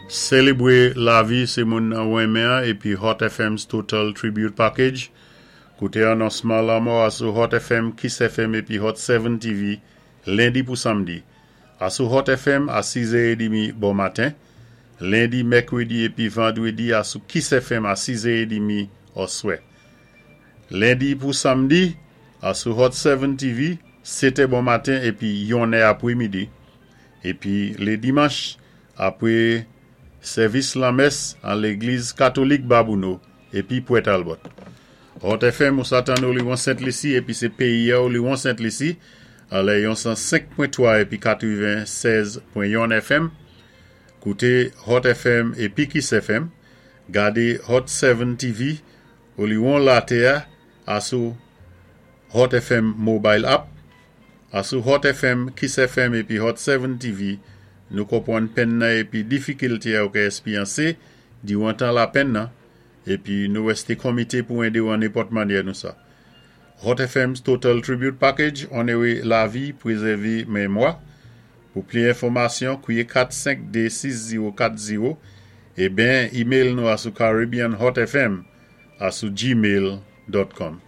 Sélébwé lavi sé moun nan ou renmen épi Hot FM's Total Tribute Package. Kouté anonsman lanmò a sou Hot FM, Kiss FM épi Hot 7 TV lendi pou samdi. Asou Hot FM a 6h30 bon maten. Lendi, mèkwédi épi vandwédi asou Kiss FM a 6h30 oswè. Lendi pou samdi asou Hot 7 TV, 7 bon maten épi 1 apwémidi. Épi lé dimanch apwé sèvis lanmès an légliz katolik Babouno épi Pwè Talbot. Hot FM ou sa tann Oliwon Sent Lisi épi sé péyi a Oliwon Sent Lisi anlè yon 105.3 épi 96.1 FM. Kouté Hot FM épi Kiss FM. Gadé Hot 7 TV Oliwon latè asou Hot FM Mobile App. Asou Hot FM, Kiss FM épi Hot 7 TV, nou konpwann penn nan épi difikilté a ou ka èspéryansé diwan tan lapenn nan épi nou wèsté konmité pou édé-w an nenpòt mannyè nou sa. Hot FM's Total Tribute Package, onoré lavi, pwézèvé mémwa. Pou pli enfòmasyon, kwié 452 6040 é ben email nou asou caribbeanhotfm asou gmail.com.